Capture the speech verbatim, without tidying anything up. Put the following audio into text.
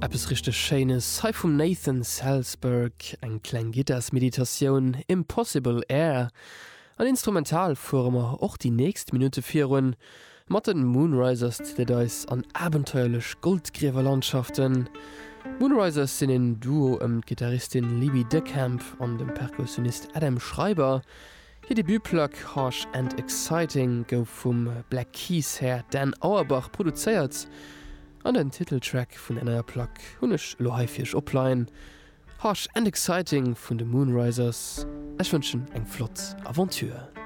Eppes richteg Schéines hei vum Nathan Salzburg, eng kleng Gittarsmeditatioun, Impossible Air. An instrumental fuere mer och déi nächst Minutte virun. Mat den Moonrisers zitt et eis an abenteuerlech Goldgriewerlandschaften. D'Moonrisers sinn en Duo ëm d'Gittaristin Libby DeCamp an dem Perkussionist Adam Schreiber. Hir Debutplack Harsh and Exciting gouf vum Black Keys Här Dan Auerbach produzéiert an den Titeltrack vun der neier Plack hunn ech elo hei fir iech opleien, Harsh and Exciting vun de Moonrisers. Ech wënschen eng flott Aventure.